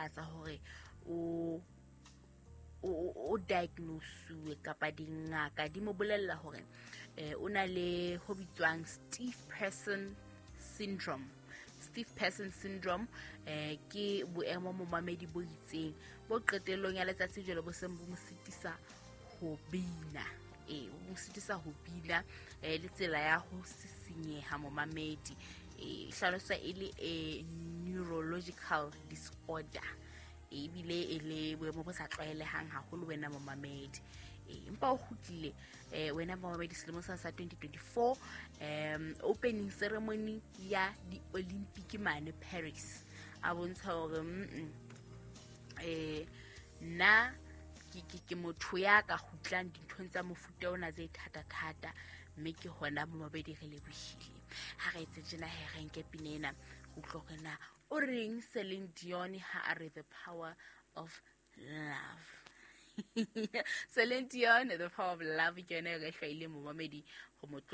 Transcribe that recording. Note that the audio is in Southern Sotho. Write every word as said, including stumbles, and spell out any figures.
phatlalatsa hore o o diagnosuwe kapa dingaka di mo bolella hore eh o na le ho bitswang Stiff Person Syndrome. Stiff Person Syndrome eh ke boemo momamedi bo itseng bo qetellong ya letsatsi jwale bo seng bo mo sitisa ho bina. Eh bo mo sitisa ho bina eh le tsela ya ho sisinyeha momamedi, eh hlaloswa e le a neurological disorder, ebile e le boemo bo sa tlwaelehang haholo wena momamedi. Empa o kgutlile eh wena momamedi selemong sa sa twenty twenty-four, um opening ceremony ya di-Olympic mane Paris, a bontsha hore mm eh nna ke ke ke motho ya ka kgutlang dinthong tsa mofuta ona tse thata-thata, mme ke hona momamedi re lebohile. Ha re etse tjena he re nke pina ena go utlwa hore na o reng Celine Dion ha a re The Power of Love. Celine Dion, The Power of Love, ke yona e re hlwaileng momamedi go mo tlotla.